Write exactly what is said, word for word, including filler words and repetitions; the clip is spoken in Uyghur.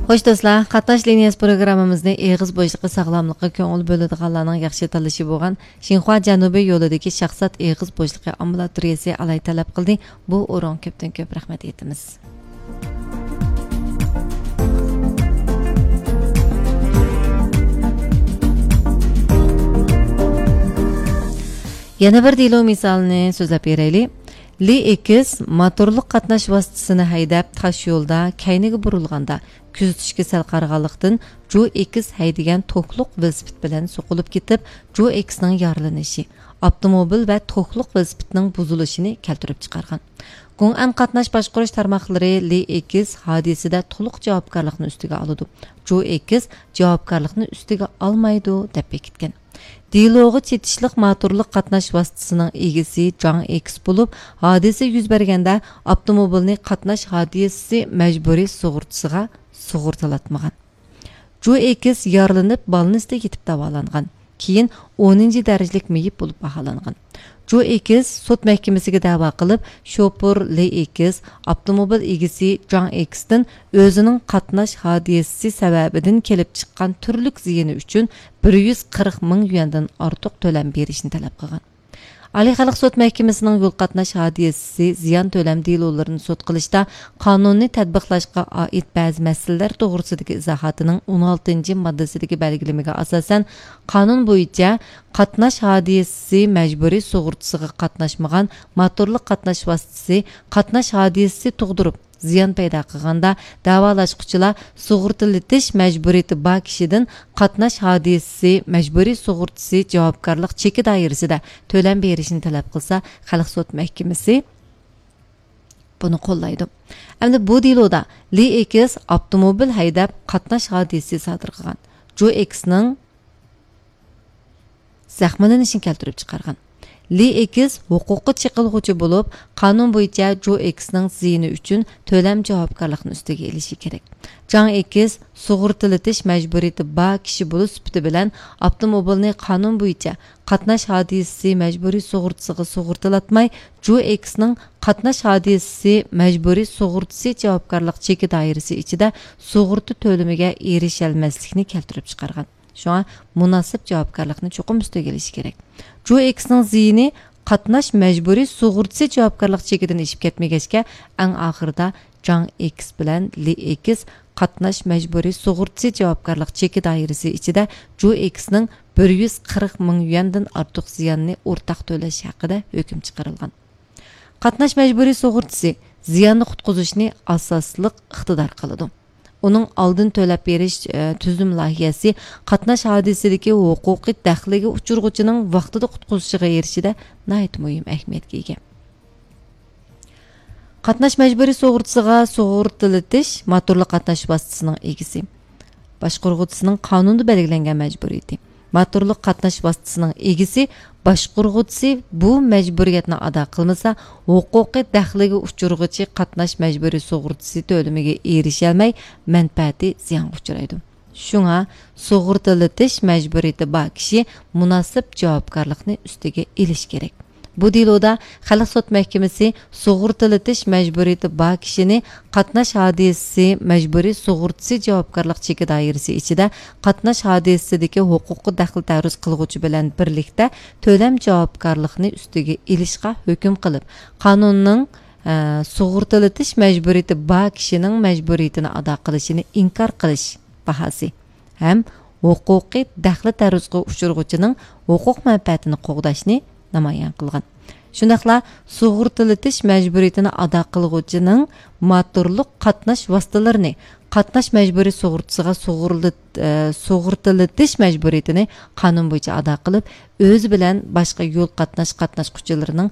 خوش دوستلار، قاتناش لىنىيەسى پروگراممىمىزنى ئېغىز بوشلۇقى ساغلاملىققا كۆڭۈل بۆلىدىغانلارنىڭ ياخشى تاللىشى بولغان شىنخۇا جەنۇبىي يولىدىكى شاخسات ئېغىز بوشلۇقى ئامبۇلاتورىيەسى ئالاھىدە تەلەپ قىلدى. بۇ ئورۇنغا كۆپتىن كۆپ رەھمەت ئېيتىمىز. يەنە بىر دېلو مىسالىنى سۆزلەپ بېرەيلى. لى ئېكس موتورلۇق قاتناش ۋاسىتىسىنى ھەيدەپ، تاش يولدا كەينىگە بۇرۇلغاندا، كۆزىتىشكە سەل قارىغانلىقتىن، جو ئېكس ھەيدىگەن توكلۇق ۋېلىسىپىت بىلەن سوقۇلۇپ كېتىپ، جو ئېكسنىڭ يارىلىنىشى، ئاپتوموبىل ۋە توكلۇق ۋېلىسىپىتنىڭ بۇزۇلۇشىنى كەلتۈرۈپ چىقارغان. گۇڭئەن قاتناش باشقۇرۇش تارماقلىرى لى ئېكس ھادىسىدە تولۇق جاۋابكارلىقنى ئۈستىگە ئالىدۇ، جو ئېكس جاۋابكارلىقنى ئۈستىگە ئالمايدۇ، دەپ بېكىتكەن. دېلوغا چېتىشلىق موتورلۇق قاتناش ۋاسىتىسىنىڭ ئىگىسى جاڭ ئېكس بولۇپ، ھادىسە يۈز بەرگەندە ئاپتوموبىلنى قاتناش ھادىسىسى مەجبۇرىي سۇغۇرتىسىغا سۇغۇرتىلاتمىغان. جو ئېكس يارىلىنىپ، بالنىستە يېتىپ داۋالانغان. كېيىن ئونىنچى دەرىجىلىك مېيىپ بولۇپ باھالانغان. جو ئېكس سوت مەھكىمىسىگە دەۋا قىلىپ، شوپۇر لى ئېكس ئاپتوموبىل ئىگىسى جاڭ ئېكستىن ئۆزىنىڭ قاتناش ھادىسىسى سەۋەبىدىن كېلىپ چىققان تۈرلۈك زىيىنى ئۈچۈن بىر يۈز قىرىق مىڭ يۈەندىن ئارتۇق تۆلەم بېرىشنى تەلەپ قىلغان. ئالىي خەلق سوت مەھكىمىسىنىڭ يول قاتناش ھادىسىسى زىيان تۆلەم دېلولىرىنى سوت قىلىشتا قانۇننى تەتبىقلاشقا ئائىت بەزى مەسىلىلەر توغرىسىدىكى ئىزاھاتىنىڭ ئون ئالتىنچى ماددىسىدىكى بەلگىلىمىگە ئاساسەن، قانۇن بويىچە قاتناش ھادىسىسى مەجبۇرىي سۇغۇرتىسىغا قاتناشمىغان موتورلۇق قاتناش ۋاسىتىسى قاتناش ھادىسىسى تۇغدۇرۇپ، زىيان پەيدا قىلغاندا، دەۋالاشقۇچىلار سۇغۇرتىلىتىش مەجبۇرىيىتى بار كىشىدىن قاتناش ھادىسىسى مەجبۇرىي سۇغۇرتىسى جاۋابكارلىق چېكى دائىرىسىدە تۆلەم بېرىشنى تەلەپ قىلسا، خەلق سوت مەھكىمىسى بۇنى قوللايدۇ. ئەمدى بۇ دېلودا لى ئېكس ئاپتوموبىل ھەيدەپ قاتناش ھادىسىسى سادىر قىلغان. جو ئېكسنىڭ زەخىملىنىشىنى كەلتۈرۈپ چىقارغان. لى ئېكس ھوقۇققا چېقىلغۇچى بولۇپ، قانۇن بويىچە جو ئېكسنىڭ زىيىنى ئۈچۈن تۆلەم جاۋابكارلىقىنى ئۈستىگە ئېلىشى كېرەك. جاڭ ئېكس سۇغۇرتىلىتىش مەجبۇرىيىتى بار كىشى بولۇش سۈپىتى بىلەن ئاپتوموبىلنى قانۇن بويىچە قاتناش ھادىسىسى مەجبۇرىي سۇغۇرتىسىغا سۇغۇرتىلاتماي، جو ئېكسنىڭ قاتناش ھادىسىسى مەجبۇرىي سۇغۇرتىسى جاۋابكارلىق چېكى دائىرىسى ئىچىدە سۇغۇرتا تۆلىمىگە ئېرىشەلمەسلىكنى كەلتۈرۈپ چىقارغان. شۇڭا مۇناسىپ جاۋابكارلىقنى چوقۇم ئۈستىگە ئېلىشى كېرەك. جو ئېكسنىڭ زىيىنى قاتناش مەجبۇرىي سۇغۇرتىسى جاۋابكارلىق چېكىدىن ئېشىپ كەتمىگەچكە، ئەڭ ئاخىرىدا جاڭ ئېكس بىلەن لى ئېكس قاتناش مەجبۇرىي سۇغۇرتىسى جاۋابكارلىق چېكى دائىرىسى ئىچىدە جو ئېكسنىڭ بىر يۈز قىرىق مىڭ يۈەندىن ئارتۇق زىياننى ئورتاق تۆلەش ھەققىدە ھۆكۈم چىقىرىلغان. قاتناش مەجبۇرىي سۇغۇرتىسى زىياننى قۇتقۇزۇشنى ئاساسلىق ئىقتىدار قىلىدۇ. ئۇنىڭ ئالدىن تۆلەپ بېرىش، ئە، تۈزۈم لايىھەسى قاتناش ھادىسىسىدىكى ھوقۇقىي دەخلىگە ئۇچرىغۇچىنىڭ ۋاقتىدا قۇتقۇزۇشىغا ئېرىشىشىدە ناھايىتى مۇھىم ئەھمىيەتكە ئىگە. قاتناش مەجبۇرىي سۇغۇرتىسىغا سۇغۇرتىلىتىش موتورلۇق قاتناش ۋاسىتىسىنىڭ ئىگىسى، باشقۇرغۇچىسىنىڭ قانۇندا بەلگىلەنگەن مەجبۇرىيىتى. موتورلۇق قاتناش ۋاسىتىسىنىڭ ئىگىسى، باشقۇرغۇچىسى بۇ مەجبۇرىيەتنى ئادا قىلمىسا، ھوقۇقىي دەخلىگە ئۇچرىغۇچى قاتناش مەجبۇرىي سۇغۇرتىسى تۆلىمىگە ئېرىشەلمەي، مەنپەئەتى زىيانغا ئۇچرايدۇ. شۇڭا سۇغۇرتىلىتىش مەجبۇرىيىتى بار كىشى مۇناسىپ جاۋابكارلىقنى ئۈستىگە ئېلىشى كېرەك. بۇ دېلودا خەلق سوت مەھكىمىسى سۇغۇرتىلىتىش مەجبۇرىيىتى بار كىشىنى قاتناش ھادىسىسى مەجبۇرىي سۇغۇرتىسى جاۋابكارلىق چېكى دائىرىسى ئىچىدە قاتناش ھادىسىسىدىكى ھوقۇققا دەخلى تەرۇز قىلغۇچى بىلەن بىرلىكتە تۆلەم جاۋابكارلىقىنى ئۈستىگە ئېلىشقا ھۆكۈم قىلىپ، قانۇننىڭ، ئە، سۇغۇرتىلىتىش مەجبۇرىيىتى بار كىشىنىڭ مەجبۇرىيىتىنى ئادا قىلىشىنى ئىنكار قىلىش باھاسى ھەم ھوقۇقىي دەخلى تەرۇزغا ئۇچرىغۇچىنىڭ ھوقۇق مەنپەئەتىنى قوغداشنى نامايان قىلغان. شۇنداقلا سۇغۇرتىلىتىش مەجبۇرىيىتىنى ئادا قىلغۇچىنىڭ موتورلۇق قاتناش ۋاسىتىلىرىنى قاتناش مەجبۇرىي سۇغۇرتىسىغا سۇغۇرلىت-، ئە، سۇغۇرتىلىتىش مەجبۇرىيىتىنى قانۇن بويىچە ئادا قىلىپ، ئۆزى بىلەن باشقا يول قاتناش قاتناشقۇچىلىرىنىڭ